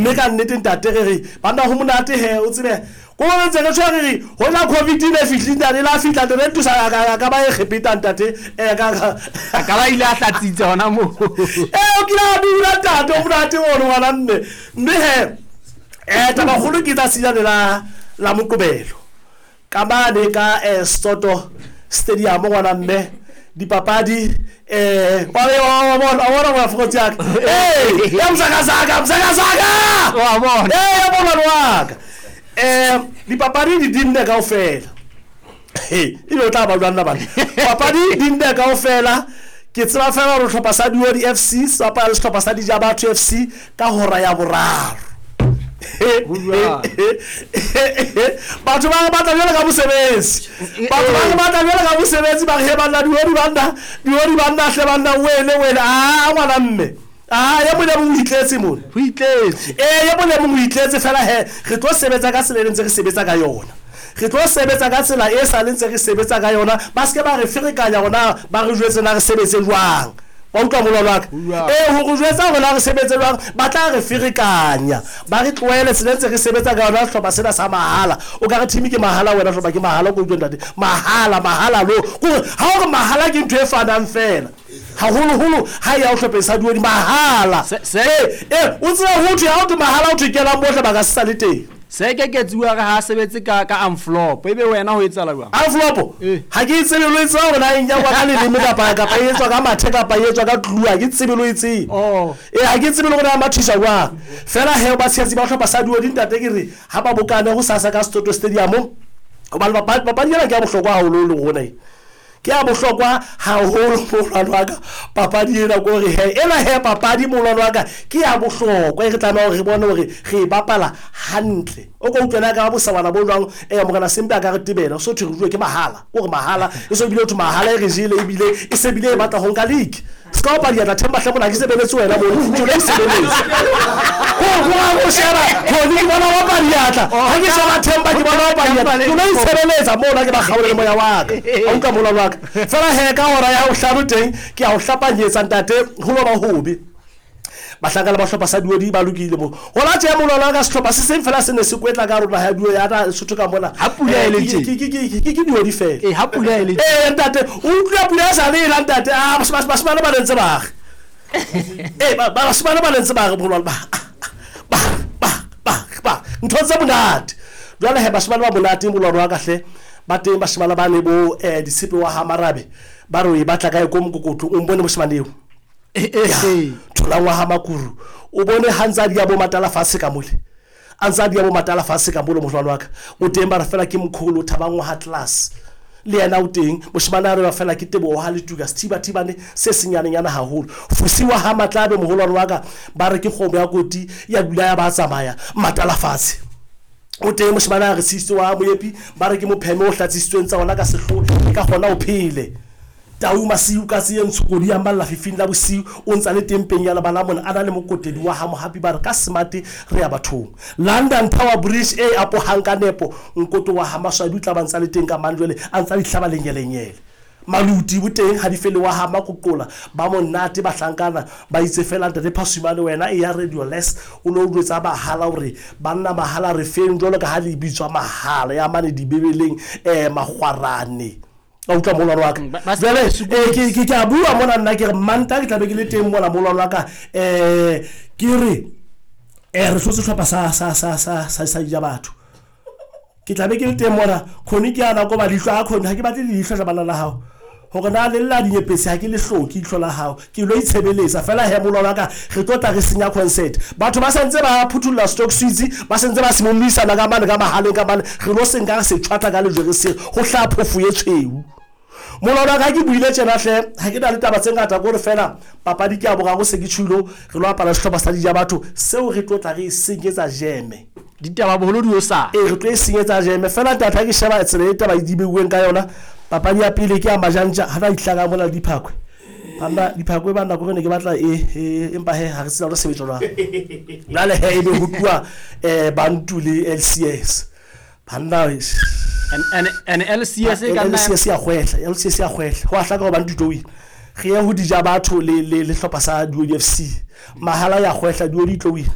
Mme ka nnete ntate re re banna ho monate he o tsebe ko re ntse re tshwa re re hona covid e ne fihlile ntate la fihla ntate re tusa ka ka ba e kgepeta ntate eh ka a ka ba ile a hlatsitse hona moo eh o kile a dula ntate o monate ono ngwana mme mme he eh tabakgolo ke tsatsi lane la la moqobelo Ka mane ka eh, Soto Stadium ngwana mme dipapadi eh wa wa bona wa bona wa fokotsi ya ka eh ya msakasaka msakasaka wa bona eh ya bona wa ka eh dipapadi di dinne kaofela he e be o tla ba jwang bana papadi di nne kaofela ke tseba fela gore tlhopha sa Duodi FC se bapala le sehlopha sa Dijabatho FC ka hora ya boraro. Batho ba re batla jwalo ka mosebetsi, batho ba re batla jwalo ka mosebetsi, ba re he banna Duodi banna, Duodi banna hle banna wele wele a ngwana mme a ye mong le mong o itletse mona, ho itletse ee ye mong le mong o itletse fela he re tlo sebetsa ka tsela e ntse re sebetsa ka yona. Re tlo sebetsa ka tsela e sa le ntse re sebetsa ka yona, ba se ke ba re ferekanya hore na ba re jwetse na re sebetse jwang. Wa utlwa molwalo wa ka? Ee, ho re jwetsa hore na re sebetse jwang, ba tla re ferekanya, ba re tlohele tsela e ntse re sebetsa ka yona. Sehlopha sena sa mahala, o ka re team ke mahala, wena hlopha ke mahala, o ko utlwe ntate, mahala, mahala lo. Kore ha o re mahala ke ntho e fanang feela, haholoholo ha e ya o hlopheng sa duodi, mahala. Ee, ee, o tsebe ho thwe ha o thwe mahala, o thwe kenang bohle ba ka se sa le teng. Se ke ke tsuwa re ha sebetse ka ka envelope ebe wena ho etsahala jwang? Envelope? Eh. Ha ke e tsebe lo e tseba hore na e nyakwa ka leleme kapa kapa e etswa ka mathe kapa e etswa ka glue ha ke tsebe lo e tsebe. Oh. Eh ha ke tsebe le hore na mathiswa jwang. Fela he ba tshehetsi ba hlopha sa Duodi ntate ke re ha ba bokane ho sasa ka Soto Stadium hobane papadi papadi ena ke ya bohlokwa haholo le rona e. Ke ya bohlokwa haholo moholwane wa ka papadi ena ko re he ena he papadi moholwane wa ka ke ya bohlokwa e re tlameha hore re bone hore re e bapala hantle. O ko utlwe na ka ba bosawana bo jwang eh morena Sempe a ka re tebela so thwe re ruwe ke mahala ko re mahala e so bile ho thwe mahala e re jele ebile e se bile e batla ho nka league. Se ka opa diatla Themba hle mona ha ke sebeletse wena mono ke lo isebeletse. Ko go ga go sheba Khoni ke bona opa diatla ha ke sheba Themba ke bona opa diatla ke lo itshebeletsa mona ke ba kgaole le moya wa ka. A utlwa molwalo wa ka. Fela he ka hora ya bohlano teng ke a o hlapanyetsa ntate ho lo ba hobe. Bahlanka le ba hlopha sa Duodi ba lokile mo. Gona tše molwalo wa ka sehlopha se seng fela se ne se kwetla ka rona ya duo ya na Lesotho ka mona. Ha pula e le tje. Ke Duodi fela. Ee, ha pula e le tje. Ee ntate, o utlwa pula e sa le ena ntate, a bashimane ba ne ntse ba re. Ee, bashimane ba ne ntse ba re molwalo ba ba ba ba ba ntho tse monate. Jwale he bashimane ba monate molwalo wa ka hle ba teng bashimane ba ne bo Ditshepe wa ha Marabe ba re o e batla kae ko mokokotlo o mbone moshimane eo. Ya, tholang wa ha Makuru o bone ha ntse a dia bo matala fatshe ka mole. A ntse a dia bo matala fatshe ka mole mohlwane wa ka. O teng ba re fela ke mkholo Thabang wa ha Class. Le yena o teng. Moshemane a re fela ke Teboho wa ha Letuka sethibathibane se senyanenyana haholo. Fusi wa ha Matlabe moholwane wa ka ba re ke kgomo ya koti ya dula ya ba tsamaya matala fatshe. O teng moshemane a re Sisi wa ha Moepi ba re ke mopheme o hlatsisitsweng tsa ona ka sehloho e ka kgona o phele. Tau masiu katse ye ntsho kodi ya malla fifing la bosiu o ntsa le teng peng ya lebala mona a na le mokotedi wa ha mohapi ba re ka smart re ya bathong London Tower Bridge e apohang ka nepo nkoto wa ha maswabi o tla ba ntsa le teng ka mang jwale a ntsa di hlaba lenyelenyele Maluti bo teng ha di fele wa ha makoqola ba monate bahlankana ba itse fela ntate Phasumane wena e ya radio less o lo jwetsa mahala hore banna mahala re feng jwalo ka ha le bitswa mahala ya mane dibebeleng eh magwarane Ka utlwa molwalo wa ka. Jwale eh, ke a bua mona nna ke re Manta ke tlabe ke le teng mona molwalo wa ka um ke re um re hlotse hlopha sa sa sa sa sa sa ja batho. Ke tlabe ke le teng mona khoni ke ana ko ba leihlo a khoni ha ke batle leihlo tla bana la hao. Hore na le lla dinyepesi ha ke le hloke ihlo la hao. Ke lo itshebeletsa fela he molwalo wa ka re tlo tla re senya concert. Batho ba sentse ba phuthulla stock suits ba sentse ba simomisana ka mane ka mahaleng ka mane re lo senka re se tjhwatla ka lejwe re se ho hlaha phofo ye tshweu. Molwalo wa ka ke buile tjena hle ha ke na le taba tse ngata kore fela papadi ke ya boraro se ke tjhulo re lo apara sehlopha sa dija batho seo re tlo tla re e senyetsa jeme. Ditaba boholo di o sa. Ee re tlo e senyetsa jeme fela ntate ha ke sheba tsela e taba e di beuweng ka yona papadi ya pele ke ya majantja ha na dihlaka mona le diphakwe. Banna diphakwe banna kore ne ke batla e empa he ha re tsela re sebetsa jwang. Jwale he ebe ho tluwa Bantu le LCS. Banna and LCS e ka nna LCS ya kgwehla, LCS ya kgwehla. Ho a hlaka hore Bantu tlo wina. Re ye ho dija batho le le le hlopha sa Duodi FC. Mahala ya kgwehla Duodi tlo wina.